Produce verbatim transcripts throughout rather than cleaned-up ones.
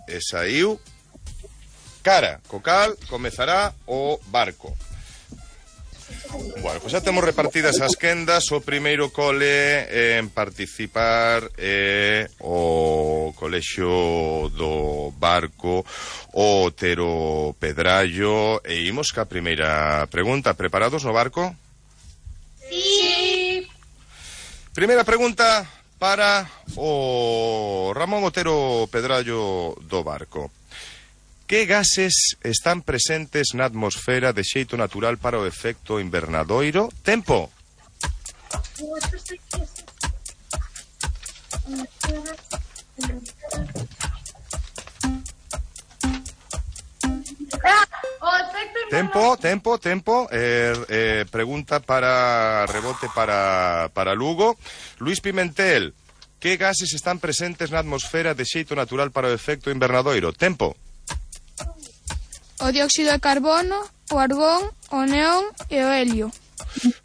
e saiu cara, co cal comezará o barco. Bueno, pois xa temos repartidas as quendas. O primeiro cole en participar é o Colexio do Barco, o Otero Pedrallo. E imos ca primeira pregunta. Preparados no barco? Sí. Primeira pregunta para o Ramón Otero Pedrallo do Barco. Que gases están presentes na atmosfera de xeito natural para o efecto invernadoiro? Tempo. Tempo, tempo, tempo. Eh, eh, pregunta para rebote para, para Lugo. Luis Pimentel, que gases están presentes na atmosfera de xeito natural para o efecto invernadoiro? Tempo. O dióxido de carbono, o argón, o neón e o helio.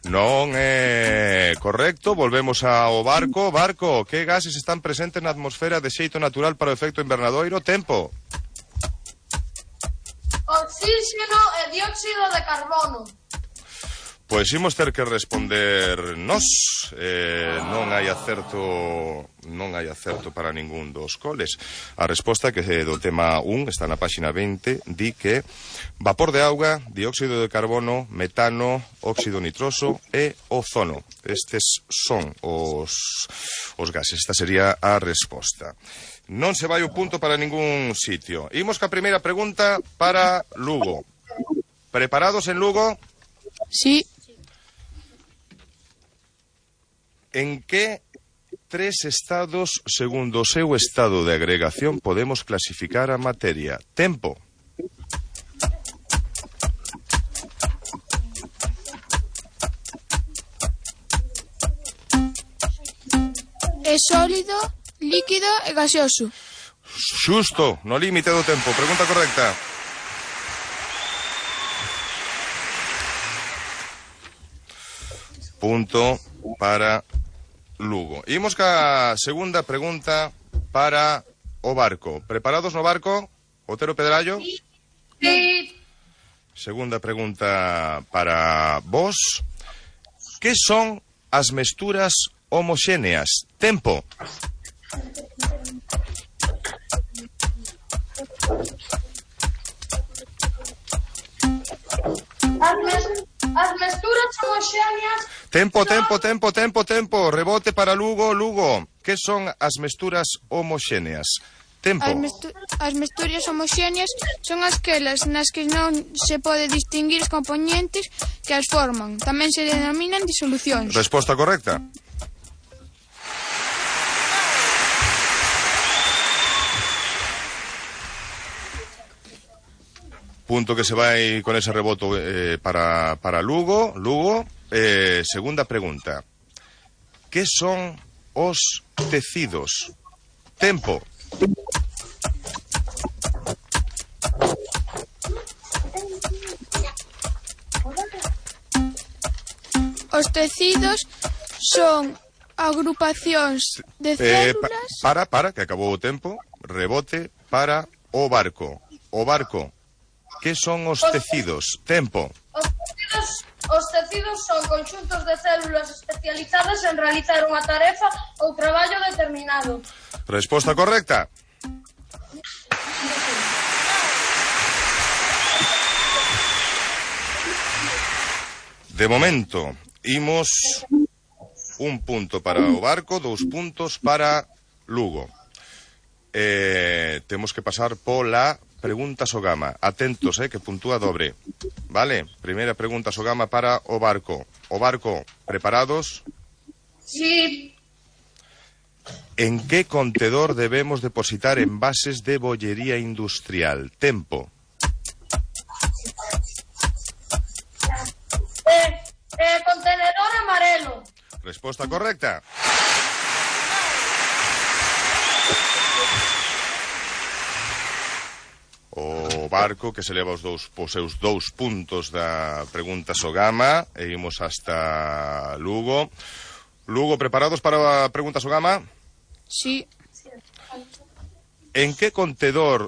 Non é correcto. Volvemos ao barco. Barco, que gases están presentes na atmosfera de xeito natural para o efecto invernadoiro? Tempo. Oxígeno e dióxido de carbono. Pois imos ter que responder nós. eh, Non hai acerto Non hai acerto para ningún dos coles. A resposta que do tema un está na páxina veinte. Di que vapor de auga, dióxido de carbono, metano, óxido nitroso e ozono. Estes son os, os gases. Esta sería a resposta. Non se vai o punto para ningún sitio. Imos ca primeira pregunta para Lugo. Preparados en Lugo? Sí. En que tres estados, segundo o seu estado de agregación, podemos clasificar a materia? Tempo. É sólido, líquido e gaseoso. Xusto, no límite do tempo. Pregunta correcta. Punto para Lugo. Imos ca segunda pregunta para o barco. Preparados no barco? Otero Pedrallo? Sí. Segunda pregunta para vos. Que son as mesturas homoxéneas? Tempo. As, mes as mesturas homoxéneas. Tempo, tempo, tempo, tempo, tempo. Rebote para Lugo, Lugo. Que son as mesturas homoxéneas? Tempo. As, mestu as mesturas homoxéneas son aquelas nas que non se pode distinguir os componentes que as forman. Tamén se denominan disolucións. Resposta correcta. Punto que se vai con ese reboto eh, para, para Lugo. Lugo, eh, segunda pregunta. Que son os tecidos? Tempo. Os tecidos son agrupacións de Eh, células... pa, para, para, que acabou o tempo. Rebote para o barco. O barco. Que son os tecidos? Tempo. Os tecidos, os tecidos son conxuntos de células especializadas en realizar unha tarefa ou traballo determinado. Resposta correcta. De momento, imos un punto para o barco, dous puntos para Lugo. Eh, temos que pasar pola pregunta Sogama. Atentos, eh, que puntúa dobre. Vale? Primeira pregunta Sogama para o barco. O barco, preparados? Sí. En que contedor debemos depositar envases de bollería industrial? Tempo. Eh, eh, contenedor amarelo. Resposta correcta. O barco que se leva os dous, os seus dous puntos da pregunta Sogama. E imos hasta Lugo. Lugo, preparados para a pregunta Sogama? Sí. En que contedor